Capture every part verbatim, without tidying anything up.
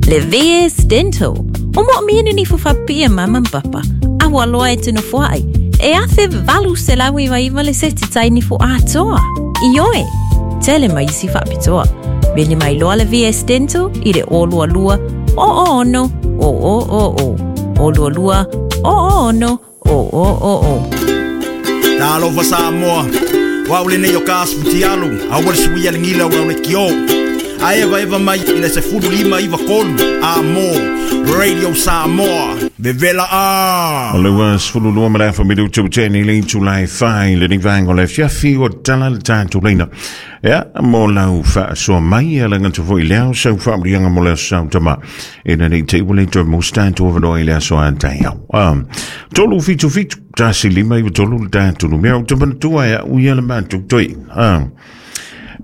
Le V S Dental. O mo miene ni fufapia mama papa. Awa loa e tino fuai. E afe valu se lawi wa iwa le seti tai ni fu atoa. Ioe. Tele mai isi faapitoa. Veli mai loa le V S Dental i le o lua lua o o ono o o o o. O lua lua o o ono o o o o. Talofa Samoa. Wau le nei o ka asfutialu. Aua le suia le ngila o le kio. A eva eva mai i le sefulu lima iwa kolu. A mo Radio Samoa. Vevela a. O le ua sefulu lua ma le afa minutu teni le itulai fai le ni vaenga o le fiafi o tala le tātou leina. Ia, mo lau whaasoa mai a le ngata foi leo sau whaamrianga mo leo sau tama. E na nei te ua le toi mo stātou avanoa i le aso a tai au. Um, tolu fitu fitu, tasi lima iwa tolu le tātou numea o te manatua e au ia le mātou toi. Um,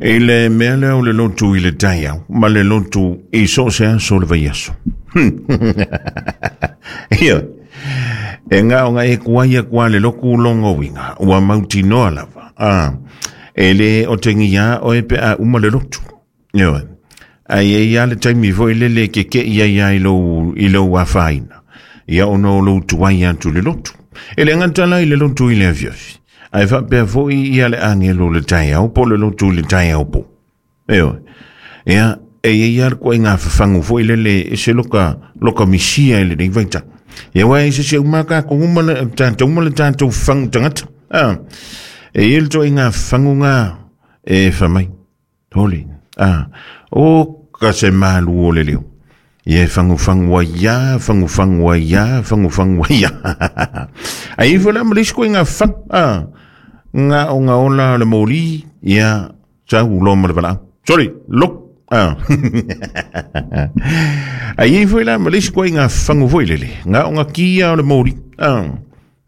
E le mea leo le lotu i le taiau, ma le lotu i so se aso le vai aso. Ia, e ngā o ngā e kuaia kua le loku longo winga, ua mauti noa lava. Ah, e le o tengi ia o e pe a uma le lotu. Ia, ai e ia le taimi foi le le ke ke ia ia i lou, i lou awhaina. Ia ono lou tuai atu le lotu. E le ngantala i le lotu i le afiafi. Ai whapea foi ia le angelo le taiau, po le lotu le taiau po. Eo, ia, e ia le koe ngā whawhangu foi le le e se loka, loka misia e le nei vaita. Ia wai se se umaka ko uma le tātou uma le tātou whangu tangata. Ah, e ia le toi ngā whangu ngā e whamai. Holi, ah, o ka se malu o le leo. Ia whangu whangu ia, whangu whangu ia, whangu whangu ia. Ai ifo la malis koe ngā whangu, ah, ngā o ngā ola le moli, ia, sau lo ma le wala. Sorry, look. Ah. Ai ifo la malis koe ngā whangu foi lele. Ngā o ngā kia o le moli, ah,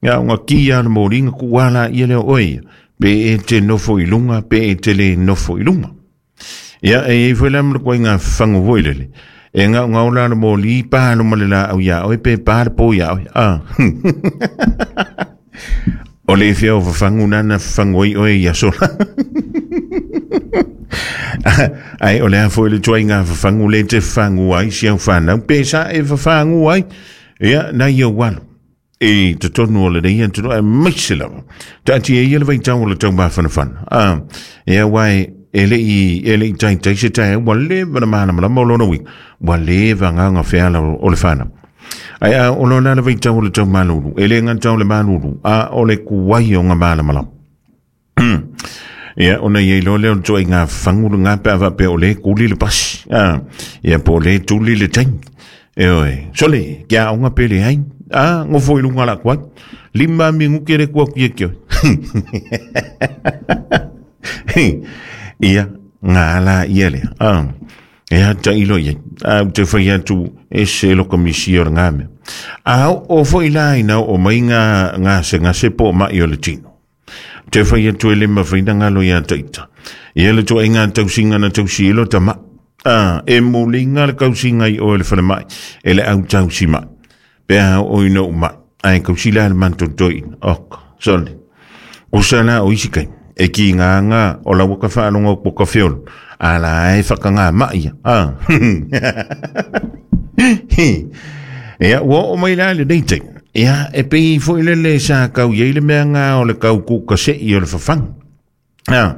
ngā o ngā kia o le moli, ngā kuala ia leo oi. Pe e te nofo i lunga, pe e te le nofo i lunga. Ia, e ifo la malis koe ngā whangu foi lele. E ngā ngā ola le moli, pālo ma le la au ia oi, pe pā le pō ia oi. Ah. O le whia o whangu nana whangu oi oi ia sola. Ai, o le a foi le tuai ngā whangu le te whangu ai, si au whanau, pe sa e whangu ai, ia, na ia walu. E te tonu o le nei, e tonu, e maise lava. Tāti e ia le vaitau o le tau mawhanawhana. Ah, ia wai, e le i, e le i tai tai se tai, ua leva na mana malama o lona wing, ua leva ngā ngā wheala o le whanau. Ai a o lona le vaitau o le tau malulu, e le ngā tau le malulu, a o le kuai o ngā mana malama. Ia, ona iei lo leo toi ngā whanguru ngā pea wapea o le kuli le pasi. Ah, ia po le tuli le taimi. E oe, sole, kia o ngā pele hai. Ah, ngofo i lunga la kuai. Lima mingu kere kua kuia kio. Ia, ngā ala ia lea. Ah, e hata ilo ia. Ah, te whai atu e se loka misi o ngā mea. Ah, o foi la ina o mai ngā, ngā se ngā se po mai o le tino. Te whai atu e le mawhaina ngalo ia taita. Ia le toa i ngā tausinga na tausi ilo tama. Ah, e muli ngā le kausinga i o le whare mai. E le au tausi mai. Pea o ino mai. Ai kausi la le manto toi. Ok, sorry. O sala o isi kai. E ki ngā ngā o la waka whaalonga o poka whiolo. Ala e whakangā mai. Ah. Ia, ua o mai la le nei. Ia, e pei foi le le sa kau iei le mea ngā o le kau kuka se i o le whawhangu. Ah,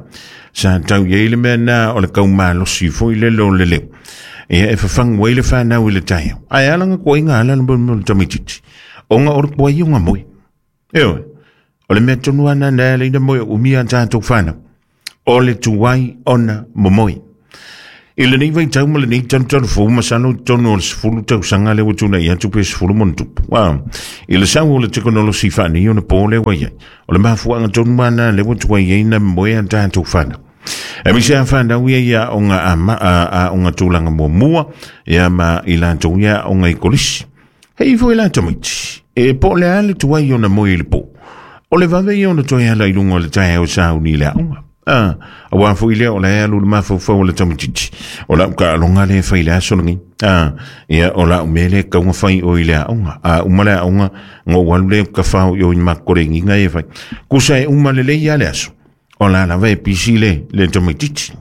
sa tau iei le mea nā o le kau malosi foi le lo le leo. Ia, e whawhangu ai le whanau i le taiau. Ai alanga kua inga ala le mo le tamititi. O ngā ora kua i o ngā moe. Eo, o le mea tonu ana nā le ina moe o umia tātou whanau. O le tuai ona momoe. I le nei vaitau ma le nei tanu tanu fou masano tonu o le sefulu tausaga le ua tuna'i atu pe sefulu ma ona tupu. Ah, i le sau o le tekonolosi faanei ona pō le ua iai. O le mafuaaga tonu mana le ua tuai ai na moe a tatou fanau. E mise a fanau ia ia o ngā ama, a, a o ngā tūlanga muamua, ia ma i latou ia o ngā i kolisi. Hei foi la tamaiti, e po le a le tuai ona moe i le pō. O le vave ia ona toe ala i lunga o le taeao sauni i le aoga. Ah, awa foi lea o le alu le mafaufau o le tamatiti. O lau ka alonga le fai le aso lengi. Ah, ia o lau mele kaunga fai o i le aoga. Ah, uma le aoga, ngo walu le ka whao i o i makore nginga e fai. Kusa e uma le lei a le aso. O la lava e pisi le, le tamatiti.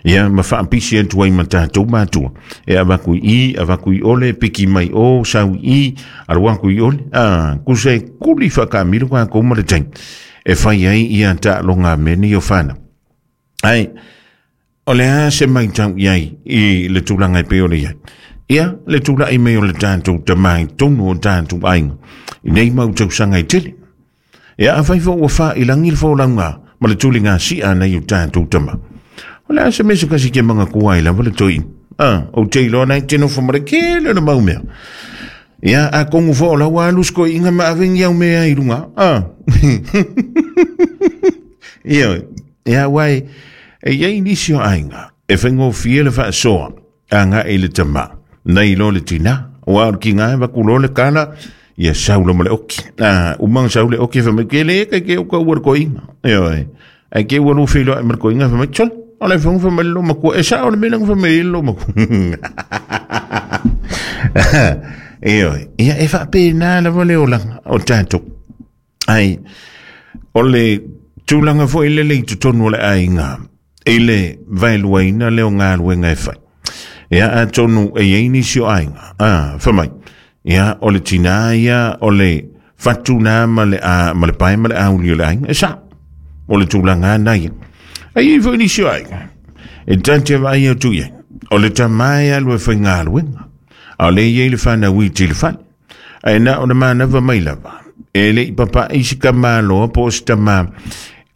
Ia ma faapisi atu ai ma tatou matua e avaku i avaku i ole piki mai o sau i alu aku i ole a kuse kuli whakamiro ka kou ma le taimi e fai ai ia taaloga mea nei o fanau. Ai o le a se maitau i ai i le tulaga e pei o le iai. Ia le tula'i mai o le tatou tamā i tonu o tatou aiga i nei mau tausaga e tele. Ia afai foʻi ua failagi le folauga ma le tuliga si'a nei o tatou tamā. O le a se mea se kasi ke mangakua ai lava le toeina. A ou te iloa nai te nofo ma le kele o le mau mea. Ia a kongu foʻi o lau alu sikoiʻiga ma avegi au mea i luga. A ia ia uae e iai nisi o aiga e faigofie le faasoa agaʻi le tamā nei lo le tinā ua o le kiga e vakuloa le kala ia sau lo ma le oki. A uma sau le oki fai mai ke le ke ke o ka ua le koiga. Ioe ai ke ua lu feiloai ma le koiga fai mai tol o le fonga fai mai le makua e sao le mea langa fai mai le makua. Ioe ia e faapena lava le olaga o tatou. Ai o le tulaga foʻi lele i totonu o le aiga i le vaeluaina le o galuega e fai. Ia atonu e iai nisi o aiga a fai mai ia o le tinā ia o le fatuna ma le a ma le pae ma le auli o le aiga e sa o le tulaga na ia. Ai iai foʻi nisi o aiga e tate vaai atu iai o le tamā e alu e faigaluega a o le iai le fanau i tili fale ae na o le manava mai lava e leʻi papaʻi si kamāloa po o se tamā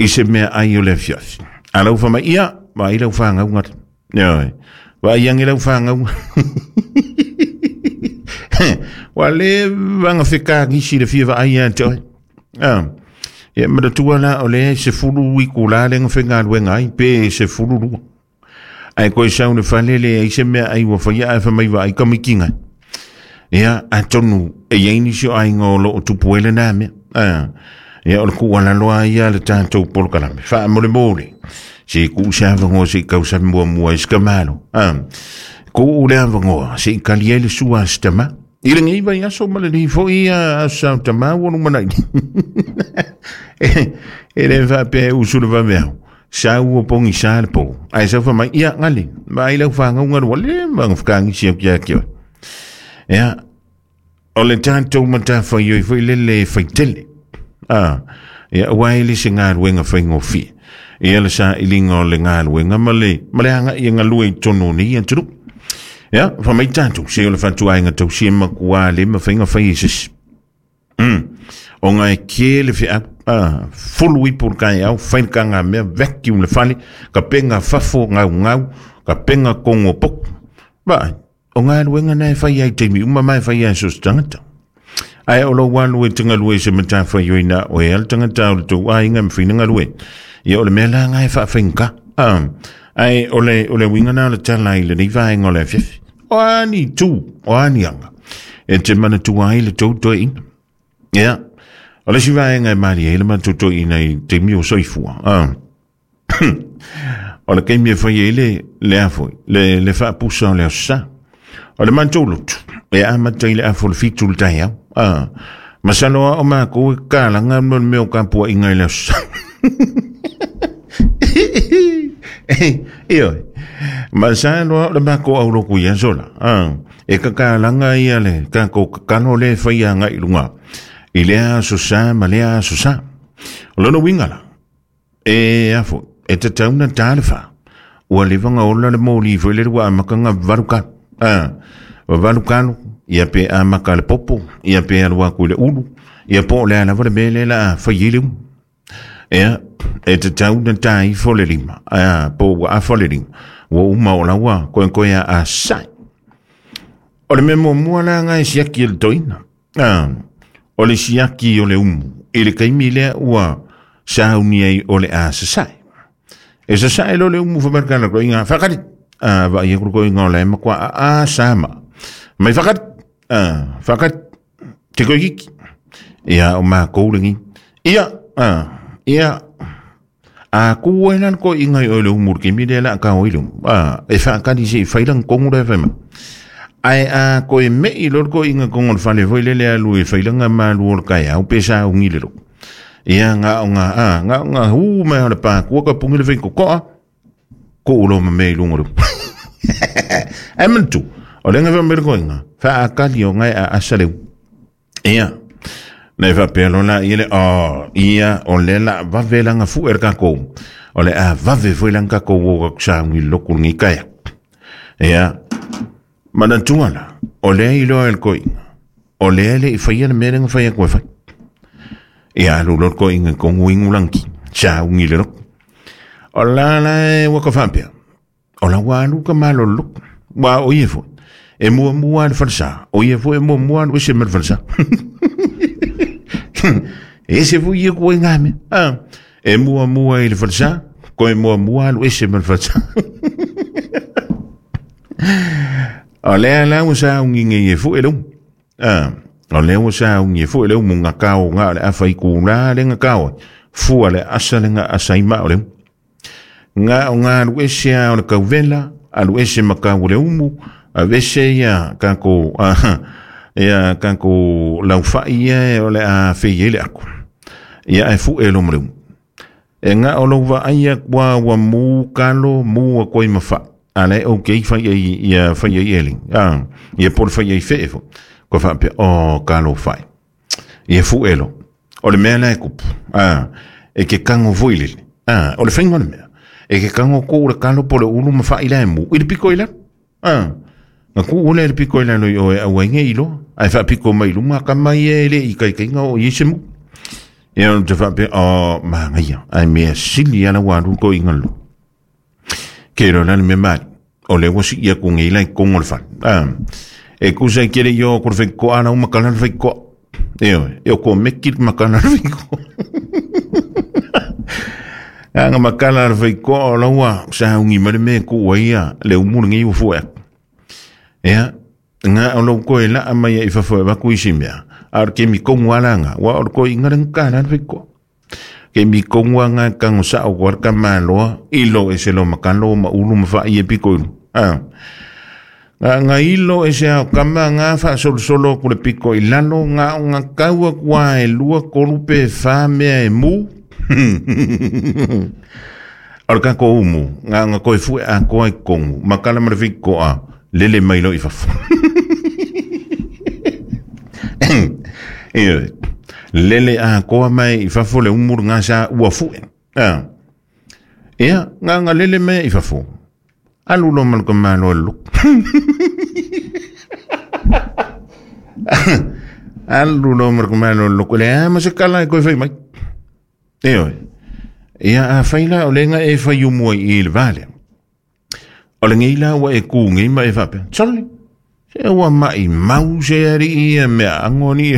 i se mea ai o le afiafi. A lau fai mai ia vaai lau fagauga ioe vaai age lau fagauga ua lē vaga fekagisi le fia vaai ia te oe. A ia manatua la o le sefulu ikulā lega faigaluega ai pe sefulu lua. Ae koe sau le fale le ai se mea ai ua faia ae fai mai vaai kamikiga. Ia atonu e iai nisi o aiga o loo tupu ai lenā mea. A ia o le kuualaloa ia le tatou polokalame faamolemole se kuu se avagoa seʻi kausami muamua i se kamalo. A kuu le avagoa seʻi kali ai le sua a se tamā i lenei vaiaso ma lenei foʻi aso sa o tamā ua lumanaʻi. E lē faapea e usu le vaveao sau o pogisā le pō ae sau fai mai ia gali vaai lau fagauga lua le magafakagisi au kia ke oe. Ia o le tatou matafaioi foʻi lele e faitele. A ia ua e le se galuega faigofie ia le saʻiliga o le galuega ma le ma le agaʻi e galue i tonu o nei atunuu. Ia fai mai tatou se o le fatuaiga tausia makuā le mafaiga fai e sesi. Mm. O ngai ke le feau a fulu ipu le kaeau fai le kagamea vacuum le fale ka penga fafo gaugau ka penga kogo poku. Vaai o galuega na e fai ai taimi uma ma e fai ai so se tagata. Ae o lou alu e tagalue se matafaioi na oe a le tagata o le tou aiga ma faina galue. Ia o le mea laga e faafaigata. A ae o le o le uiga na o le tala i lenei vaega o le afiafi. O ani tu o ani aga e te manatua ai le tou toeʻina. Ia o le isi vaega e malie ai le matou toeʻina i taimi o soifua. A o le kaimi e fai ai le le a foi le le faapusa o le aso sa. O le matou lotu e amata i le afa o le fitu le taeao. A masalo a o makou e kalaga ma le mea o kapuaʻiga i le aso sa. Ioe masalo a o le makou auloku i aso la. A e kakalaga ia le takou kakalo le e fai agaʻi luga i lea aso sa ma lea aso sa. O lona uiga la e a foi e tatau na tā le fā ua leva ola le moli foi le ua amakaga valu kalo. A valu kalo ia pe amaka le popo ia pe alu aku i le ulu ia po o le a lava le mea lea la a fai ai le umu. Ia e tatau na tā ifo le lima a po ua afa le lima ua uma o laua koekoe a asai. O le mea muamua laga e siaki e le toeina. A o le siaki o le umu i le kaimi lea ua sauni ai o le a sasae. E sasae lo le umu fai mai le kala koiga faakali. A vaai aku le koiga o lae makuā a a sama. Mai faakali. A faakali te koikiki. Ia o makou legi. Ia a ia a ku ai la le koiga i oe le umu i le kaimi lea la a kao ai le umu. A e faakali seʻi fai laga kogu lea fai mai. Ae a koe meʻi lo le koiga kogo le fale foi lele alu e fai laga malu o le kaeao pe saugi le loko. Ia gaoga a gaoga hu mai o le pakua ka pugi le faikokoʻa. Ko ulo ma me lunga lu. Ai mantu o lenga fa mele koinga fa akali o ngai a asaleu. Ia nei fa pelo la ile o ia o le la va vela nga fu er ka ko o le a va ve foi langa ko wo ka ngi loku ngi kaya. Ia manantua la o le ilo el koinga o le le i faia le mele nga faia koe fai. Ia alu lo koinga ko nguingu lanki sa ngi le loko. O la la e waka whampea. O la walu ka malo luk. Wa o ie fo. E mua mua le falsa. O ie fo e mua mua le wese me le falsa. E se fo ie kue ngame. Ah. E mua mua i le falsa. Ko e mua mua le wese me le falsa. O lea la ua sa ungi nge ie fo e leu. Ah. O lea ua sa ungi e fo e leu munga kao ngā le awha i kūlā le ngā kao. Fua le asa le ngā asa i mao leu. Ngā o ngā alu ese a o le kauvela, alu ese makau le umu, a vese ia kako, a, ia kako laufai ia o le a fei ele aku. Ia e fu e lo mle umu. E ngā o lauva aia kwa wa mu kalo, mu a koi mawha. A le o kei fai ai, ia fai ai ele. A, ia pol fai ai fe e fo. Kwa whaapea, o kalo fai. Ia fu e lo. O le mea la e kupu. A, e ke kango voi lele. A, o le whainga le mea. E ke kango ko le kalo po le ulu ma wha ila e mu. I le piko ila. Ah. Nga ku ule le piko ila loi oe au ainge ilo. Ai wha piko mai lunga ka mai e le i kai kai ngā o i se mu. Ia te wha pe o maa ngaia. Ai mea sili ala waru ko inga lo. Ke ro lani me mali. O le wasi ia ku nge ila i kongo le whale. Ah. E kusa i kere i o kore whai koa ana umakana le whai koa. E oe. E o ko meki makana le whai koa. Anga makala le whai koa o laua sa ungi mare me ku ia le umuru ngi u fua. Ea, ngā o lau koe la amai i whawhua waku isi mea. A ke mi kongu alanga, wa o koe inga rangka la whai koa. Ke mi kongu anga kango sa o koa maloa, ilo e se lo makalo ma ulu ma wha i e piko ilu. Ah. Ngā ngā ilo e se ao kama ngā wha solo solo kule piko i lalo, ngā o ngā kaua kua e lua korupe wha mea e mu. O le kako umu, ngā ngā koe fue a koa i kongu, makala mara koa, lele mai lo i fafu. Lele a koa mai i fafu le umuru ngā sa ua fue. Ah. Ea, ngā ngā lele mai i fafu. Alu lo maluka malo e luk. Alu lo maluka malo e luk. Le a masakala e koe whai mai. E oe. Ia a whaila o lenga e whai umua i le vale. O le ngeila ua e kū ngei ma e whapea. Tsole. Se ua mai mau se ari ia mea angoni.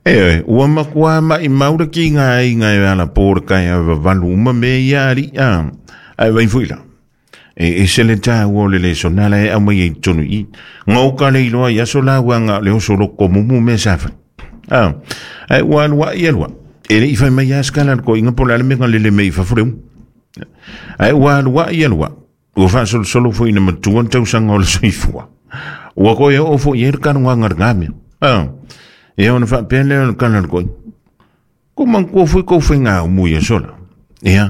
E oe. Ua makua mai mau le ki ngā i ngā e ala pōra kai a walu uma me ia ari. A, ai vai fuila. E, e se le tā ua le le sonala e au mai e tonu i. Ngau le iloa i aso la ua ngā le oso loko mumu me sawha. Ah, ai ua alua i alua. E le i whai mai askala ko inga pola le menga lele me i whafureu. Ai ua alua i alua. Ua wha solo solo fo ina matuan tau sanga o le soifua. Ua koe o fo i e kanu ngā ngarngame. Ah, e ona wha pele o le kana le koe. Ko mangkua fui kou whai ngā umu ia sola. Ea,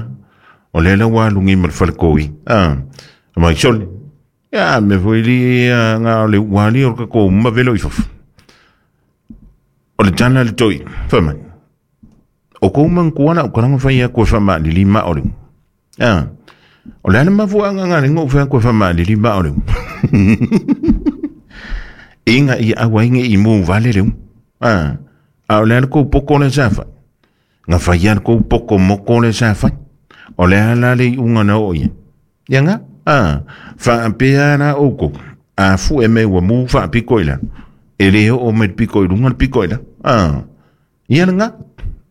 o le la ua alungi ma le whale koi. Ah, mai sole. Ia, me fo ili ngā o le ua li o le kako uma velo i whafu. O le tana le toi, whamani. O kou mangkua na o karanga whai a koe whama li lima o leu. Ah, o le ana mafua anga ngā rengo whai a koe whama li lima o leu. Inga i awa inge i mō vale leu. Ah, a o le ana kou poko le sa whai. Ngā whai ana kou poko moko le sa whai. O le ana le i unga na o ia. Ia ngā? Ah, whaapea ana o kou. A fu e me ua mō whaapiko i lano. E le o me piko i runga le piko i la. Ah, ia ngā.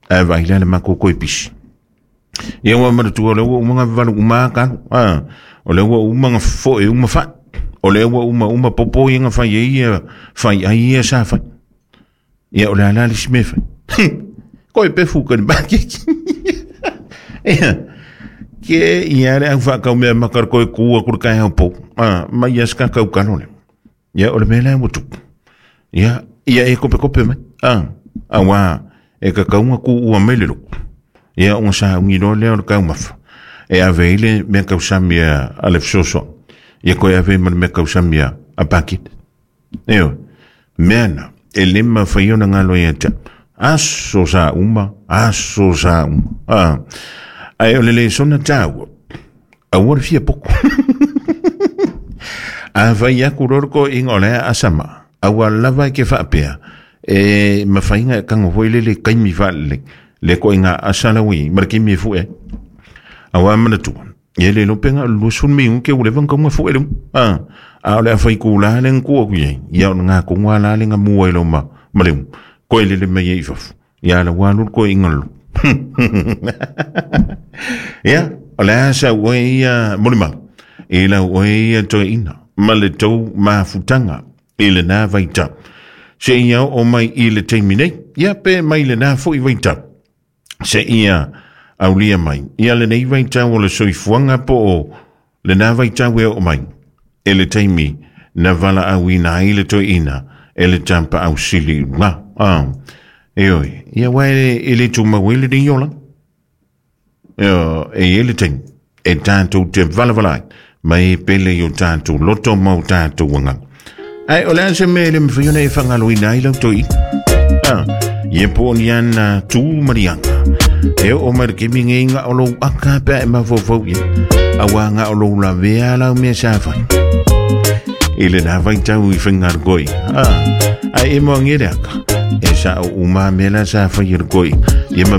A vai la le mako koe pisi. Ia ua maratua o le ua umanga valu uma kalu. Ah, o le ua umanga fo e uma wha. O le ua uma uma popo i nga whai e ia whai ai ia sa whai. Ia o le ala le sime whai. Koe pefu ka ni bakeki. Ia, ke ia le au whakau mea makar koe kua kura kai hau pō. Ah, mai ia ska kau kano le. Ia o le mea lea watupu. Ia, ia e kope kope mai. Ah, awa, e kakaunga ku ua mele loko. Ia unga sa ungi loa lea o le kaumafa. E ave i le mea kausami a le fesoasoani. Ia koe ave ma le mea kausami a Pakit. Ioe, mea na, e le mafai ona galo ia te au. Aso sa uma, aso sa uma. Ah. Ae o le lesona tāua, aua le fia poko. A fai aku loa le toeaiina o le a asama, aua lava e ke faapea, e mafaiga e tago foi lele taimi faalelei, le toaiga asa lau i ma le taimi e fue ai. Auā manatua, ia le iloa pe na o le luasefulu minute ua leva ona tau fue le umu. A o le a fai tulā le na tuu atu i ai, ia o lena tonu lava la le na mua ai loa ma le umu, toe lele mai ai i fafo, ia la ua alu le toeaiina lolo. Ia, o le a sau oe ia molimau, i lau oe ia toeaina, ma le tou mafutaga i lena vaitau. Seia oo mai i le taimi nei, ia pe mai lena foi vaitau. Seia aulia mai, ia lenei vaitau o le soifuaga po o lena vaitau e oo mai, e le taimi na valaauina ai le toeaina e le tapaau sili i luga. Ah, ioe, ia aua e le tumau ai lenei olaga. Ioe, e i ai le taimi e tatou te valavala ai ma e pele i o tatou loto ma o tatou agaga. Ae o le a se mea e le mafai ona e faagaloina ai lau toeaina? Ah, ia po o ni ana tu ma ni aga. E oo mai le taimi nei na o lou aka pe a e mafaufau i ai, auā na o lou lavea lau mea sa fai. I lena vaitau i faiga Ah, ae e moagia le aka, e sao uma mea la sa fai e le toeaina, ia ma